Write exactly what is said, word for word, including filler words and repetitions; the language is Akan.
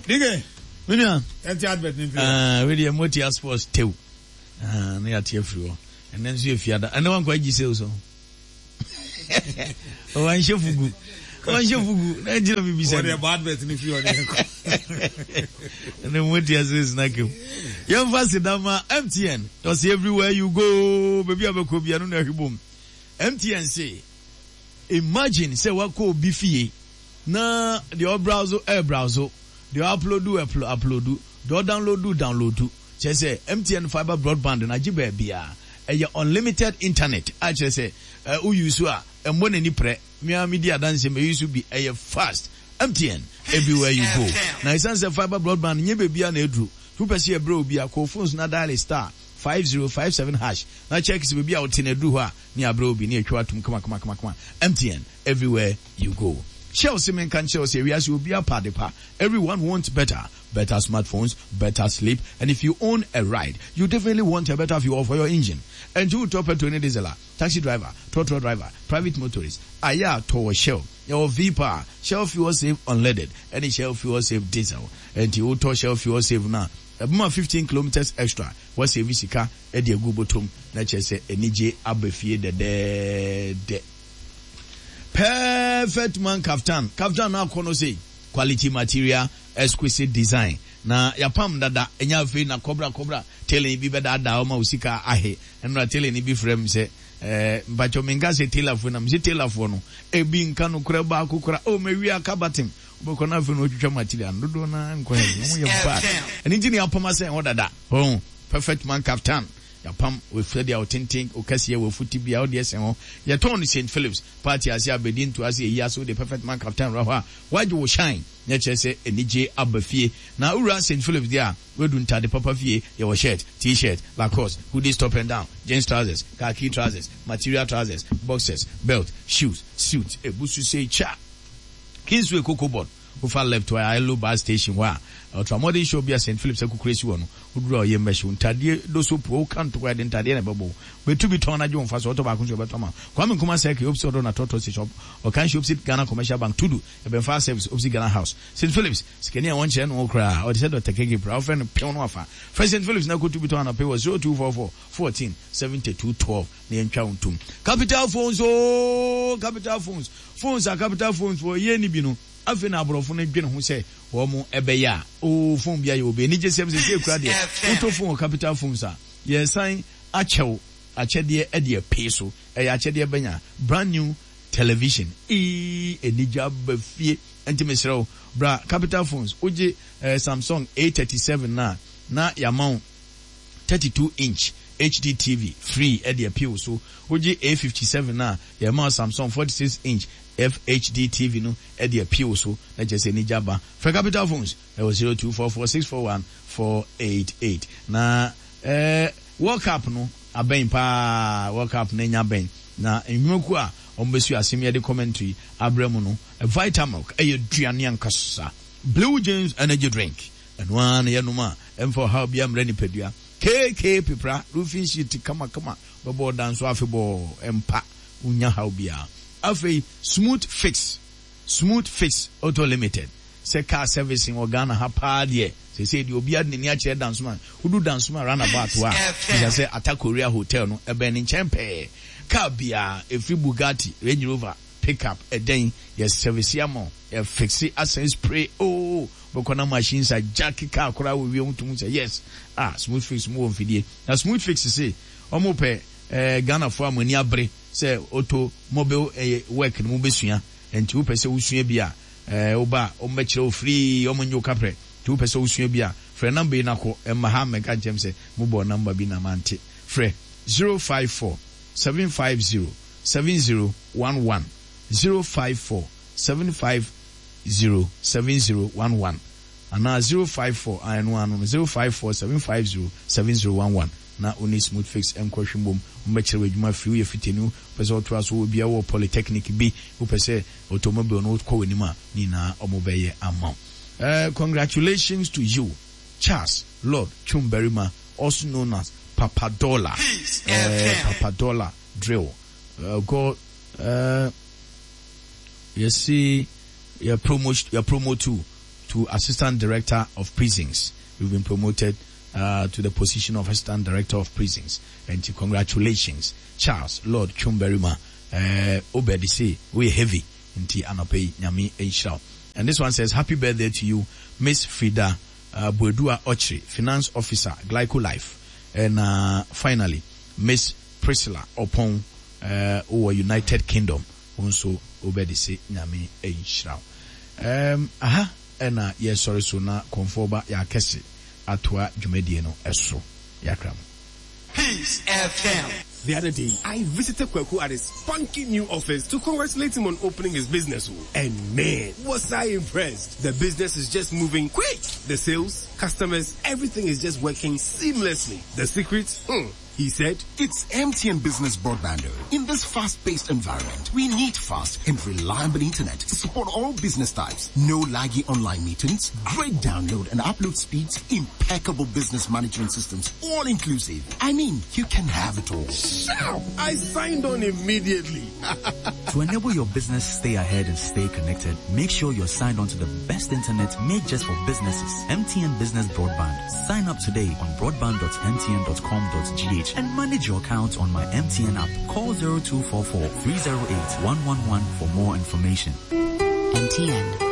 Dike. Me nua. Ɛnti advert ni nfi. Ɛɛ wei deɛ Motia Sports tew. Ɛɛ ne yɛate afiri hɔ. Ɛnɛ nso yɛ fiada. Ɛnɛ wankɔ agyi sales ho. Wanhyɛ fugu. Wanhyɛ fugu. Na ɛgyina mi bisa. Wɔde ɛbɔ advert ni fi hɔ ne yɛkɔ. Ɛnɛ Motia sales na kem. Yɛmfa sedama M T N. Ɔsi everywhere you go. Baabi a bɛkɔ bia no na ɛhwe bom. M T N se imagine sɛ wakɔ obi fie na deɛ ɔbrowse ɛbrowse, deɛ ɔupload upload, deɛ ɔdownload download. Kyerɛ sɛ M T N fibre broadband na agye baabiara, ɛyɛ unlimited internet a kyerɛ sɛ ɛ woyi so a ɛmmɔ n'ani prɛ. Mmea mi di adanse mɛ yi so bi, ɛyɛ fast. M T N, everywhere you go. Na ɛsiane sɛ fibre broadband nye baabiara na eduru, wopɛ sɛ yɛbrɛ obi a kɔ phones na dial star five zero five seven hash na check sɛ baabi a wote na eduru hɔ a ne abrɛ obi ne atwa atum kama kama kama kama. M T N, everywhere you go. Shell se menka nkyerɛ wo sɛ ewiase obi apa ade pa. Everyone wants better, better smartphones, better sleep, and if you own a ride, you definitely want a better fuel for your engine. And wotɔ petrol ne diesel a, taxi driver, trotro driver, private motorist, ayɛ a tɔ wɔ Shell. Yɛwɔ V-Power, Shell Fuel Save Unleaded ɛne Shell Fuel Save Diesel. Nti wotɔ Shell Fuel Save no a, ɛbɛma fifteen kilometres extra, wasave sika de agu bɔtɔm na kyerɛ sɛ anigye aba fie dɛdɛɛdɛ. Perfect Man kaftan, kaftan no akɔ no sei, quality material, exquisite design, na yapam dada. Ɛnyɛ afei na kɔbra kɔbra tailor bi bɛdaadaa ɔma wo sika ahe. Ɛnora tailor bi frɛ m sɛ ɛɛ mpakyɛw, menka sɛ tailorfoɔ na mesɛ tailorfoɔ no ebi nka no korɛ baako kora o mawie aka batem wobɛkɔ no afei na wɔtwitwa material no dodoɔ no nkɔ hɛ ɔmo yɛ bad. Ɛno nti ne yapam asɛn hɔ dada. Oh, Perfect Man kaftan yapam sɛdeɛ ɔtenten ɔkɛseɛ wɔ futi bia wode ɛsɛn hɔ. Yɛtɔn no Saint Philips party ase, abɛdi nto ase, ɛyi ase. Wode Perfect Man kaftan wura hɔ a wagye wo shine na kyerɛ sɛ anigye aba fie. Na wowura Saint Philips deɛ a wadu ntade papa fie. Yɛwɔ shirt, T-shirt, Lacoste, hoodies, top and down, jeans trousers, khaki trousers, material trousers, boxers, belt, shoes, suit, ebusu sei cha. Kingsway Cocoa Board, wofa left hɔ a, Ilo bus station hɔ a ultramodern show bi a Saint Philips akukure si wɔ no, woduru a ɔyɛ mmɛhyew ntadeɛ doso po woka ntokwa yɛde ntadeɛ na ɛbɛbɔ wo bɛtu bi tɔn na gye wo mfa so. Ɔtɔ baako nso yɛbɛtɔ ma Kwame Nkrumah Circle, opposite ɔdɔ na tɔtɔ station, ɔkan opposite Ghana Commercial Bank, Tudu ɛbɛnfa Service, opposite Ghana House. Saint Philips sikani a wɔnkyerɛ no koraa ɔde sɛ Doctor Keke pra wofrɛ no pew no afa frɛ Saint Philips na kotu bi tɔn anɔpɛ wɔ zero two four four fourteen seventy-two twelve na yɛntwa wo ntom. Capital Phones o, Capital Phones, phones a Capital Phones wɔ yɛ ni bi no. Afei na aborɔfo no dwene ho sɛ wɔn ɛbɛyɛ a o phone bi ayɛ obi anigye sɛm sɛ sɛ ekura deɛ wotɔ phone wɔ Capital Phones a yɛsan akyɛw akyɛdeɛ ɛde apee so. Ɛyɛ akyɛdeɛ bɛnya brand new television. Ii anigye aba fie. Nti mesrɛ wo, bra Capital Phones. Wogye eh, Samsung A thirty-seven na na yɛama wo thirty-two inch H D T V free ɛde appeal so. Wogye A fifty-seven na yɛma wo Samsung forty-six inch F H D T V no ɛde appeal so na kyerɛ sɛ anigye aba. Frɛ Capital Phones ɛwɔ zero two four four six four one four eight eight. Na eh, World Cup no abɛn paa. World Cup no anya abɛn na nnwumakuo a wɔn bɛsu asɛm yɛde commentary abrɛ mu no, Vitamilk ɛyɛ duane ankasa, Blue James energy drink ɛno ara na yɛnom a ɛmfa ɔhaw bi ammerɛ nipadua, K K Pepra roofing sheet kamakama bɛbɔ ɔdan so afebɔɔ mpa wonya haw biara. Afei Smooth Fix, Smooth Fix Auto Limited, sɛ car servicing wɔ Ghana ha paa deɛ, sɛsɛ deɛ obiara de n'ani akyerɛ Dansoma. Wodu Dansoma roundabout hɔ a, bisa sɛ Ata Korea Hotel no ɛbɛn ne nkyɛn pɛɛ. Car biara ɛfiri Bugatti, Range Rover, pickup, ɛdɛn, yɛ service ama wo, yɛ fix asan spray oo bɛkɔ na machines a jack car koraa wɔ wiem tum sɛ yes. Ah, Smooth Fix mu wɔ mfidie na Smooth Fix se ɔmo pɛ ɛɛ Ghanafoɔ a mo ani abere sɛ auto mobile ɛyɛ work no mo bɛsua. Nti wopɛ sɛ wosua bi a, ɛɛ woba a ɔmo bɛkyerɛ wo free, ɔmo nye wo kaprɛ. Nti wopɛ sɛ wosua bi a, frɛ number yi na kɔ ɛmma ha mmɛka nkyɛn sɛ mobɔ number bi na mante. Frɛ zero five four seven five zero seven zero one one, zero five four seven five zero seven zero one one anaa zero five four ɛno ano no zero five four seven five zero seven zero one one na oni Smooth Fix nkɔhwɛ mbom. Wɔbɛkyerɛ wɔ adwuma firi woyɛ fitani, wopɛ sɛ ɔtoa so wɔ bia wɔ polytechnic bi, wopɛ sɛ automobile no wokɔ w'anim a, ne nyinaa ɔmo bɛyɛ ama wo. Uh, congratulations to you, Charles Lord Twumbarima, also known as Papa Dollar, uh, Papa Dollar Drill. uh, God uh, yɛsi yɛ promote yɛ promote to Assistant Director of Prisons. You've been promoted uh, to the position of Assistant Director of Prisons. And congratulations, Charles Lord Chumberima. Uh, Obedi se, we heavy. Nti anɔpa yi Nyame nhyira wo. And this one says, happy birthday to you, Miss Frida uh, Boadua Ochri, Finance Officer, Glyco Life. And uh, finally, Miss Priscilla Opon, uh, wɔ United Kingdom. Wo nso Obedi se Nyame nhyira wo. Um, aha, ɛna yɛsɔre so na kɔnfoɔ ba yɛakɛse atoa dwumadie no ɛso yɛakra mu. Peace F M. The other day, I visited Kweku at his spunky new office to congratulate him on opening his business. And man, was I impressed. The business is just moving quick. The sales, customers, everything is just working seamlessly. The secret? Hmm. He said, "It's M T N Business Broadband." In this fast-paced environment, we need fast and reliable internet to support all business types. No laggy online meetings, great download and upload speeds, impeccable business management systems, all inclusive. I mean, you can have it all. Shout! I signed on immediately. To enable your business stay ahead and stay connected, make sure you're signed on to the best internet made just for businesses. M T N Business Broadband. Sign up today on broadband dot M T N dot com dot G H and manage your account on my M T N app. Call zero two four four three zero eight one one one for more information. M T N.